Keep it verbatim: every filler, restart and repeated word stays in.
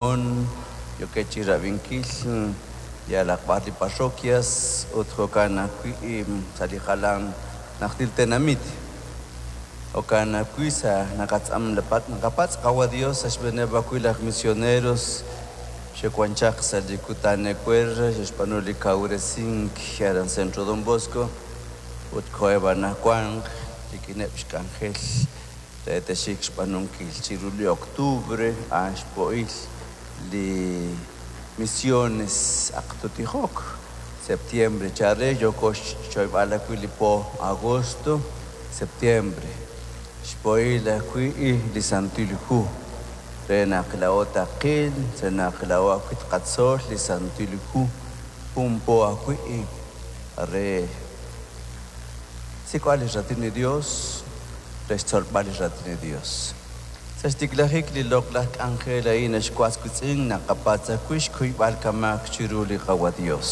Yookeb' chi rab'inkil yalaq b'ar li parroquias ut jo'kan ajwi' sa' li jalan najtil tenamit. Jo'kan ajwi' sa' naqatz'am naqapatz' Qawa' Dios sa' xb'eeneb' ajwi' laj misioneros xe'wan chaq sa' li kutan ewer xe'xb'aanu li kawresink aran Centro Don Bosco ut koheb' anaqwan rik'ineb' xk'anjel re te'xik xb'aanunkil chiru li octubre a'an xpo'il li misiones aqtutijok septiembre chare yooko xchoyb'al ajwi' li po agosto septiembre xpo'il ajwi' li Santil Hu re naq laa'o taqil re naq laa'o ajwi' tqatzol li Santil Hu jun po ajwi' re sik'b'al li raatin li Dios re xtzolb'al li raatin li Dios. Sa' xtiklajik li loq'laj k'anjel a'in naxwatz witz'in naqapatz' ajwi' xkuyb'al kamaak chiru li Qawa' Dios.